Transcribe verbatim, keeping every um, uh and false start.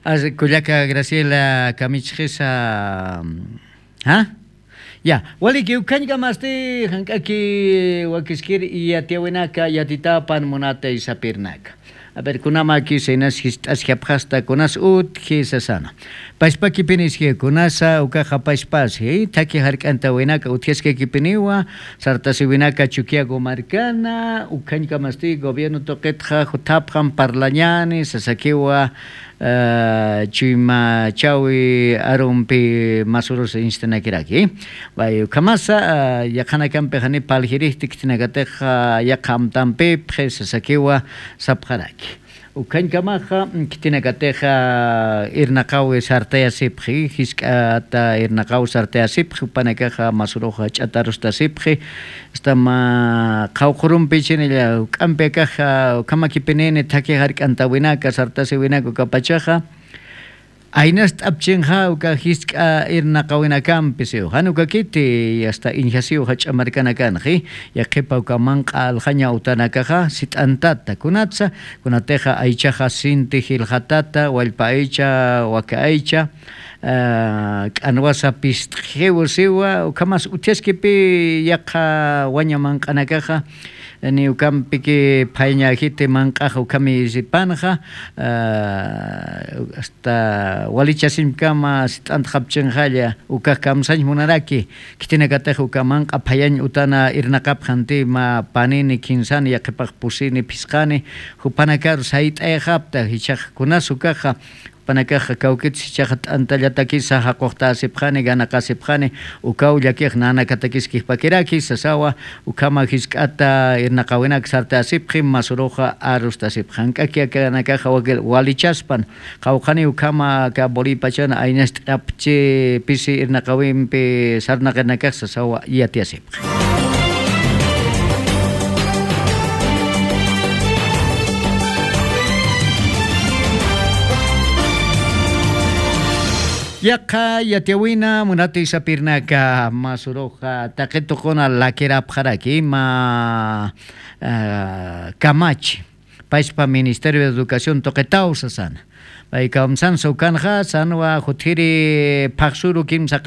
Kullaka Graciela kamichxisa. Ja? Ya, waliki ukhañkamasti jank'aki wakiskir yatiyawinaka yatitapan munatay sapirnaka. A ver, kunamaki saynas jist'asjapxasta kunas utji sasana. Pashpakipiniski kunasa ukaxa pashpasi thaki jark'antawinaka utjaskakipiniwa sartasiwinaka chukiago markana ukhañkamasti gobierno tuqitxa juthapxam parlañani sasakiwa. Chuyma chawi arumpi masurusa instanakiraki. Ukhamasa yaqhanakampixani paljirijti khitinakatixa yaqha amtampipxi sasakiwa sapxaraki. Ukhañkamaxa khitinakatixa irnaqawi sartayasipxi jisk'ata irnaqaw sartayasipxi upanakaxa masuruxa ch'atarustasipxi. Asta mä qhawqhurumpi chinilla juk'ampi akaxa ukhamakipinini thakhi jark'antawinaka sartasiwinaka ukapachaxa aynast'apchinxa uka jisk'a irnaqawinakampi siw jan ukakiti asta injasiw jach'a markanakanxi. Yaqhipa uka manq'a aljaña utanakaxa sit'antata kunatsa kunatixa aychaxa sinti jilxatata wallpa aycha waka aycha k'anwasa pist'xiw siwa ukhamas utjaskipi yaqha waña manq'anakaxa ni ukampiki phayañäjiti manq'axa ukhami sipanxa. Asta walichasimkama sit'antxapchinxalla ukax kamsañ munaraki. Khitinakatix uka manq'a phayañ utana irnaqapxanti mä panini khinsani yaqhipax pusini phisqani jupanakaru sayt'ayxapta jichhax kunas ukaxa jupanakaxa kawkitsa jichhaxa t'antallatakisa jaquxtasipxani ganaqasipxani. Ukaw llakix nanakatakis kijpakiraki sasawa. Ukhama jisk'ata irnaqawinak sartasipxi masuruxa arustasipxi jank'aki akanakaxa walichaspan qhawqhani ukhama aka bolipachana aynast'apchi pisi irnaqawimpi sarnaqinakax sasawa yatiyasipxi. Yaqha yatiyawina munati sapirnaka masuruxa taqituquna lakirapxaraki ima kamachi pachpa ministerio de educación tuqitaw sasana. Paykawamsansa ukanxa sanwa jutiri phaxsuru kimsa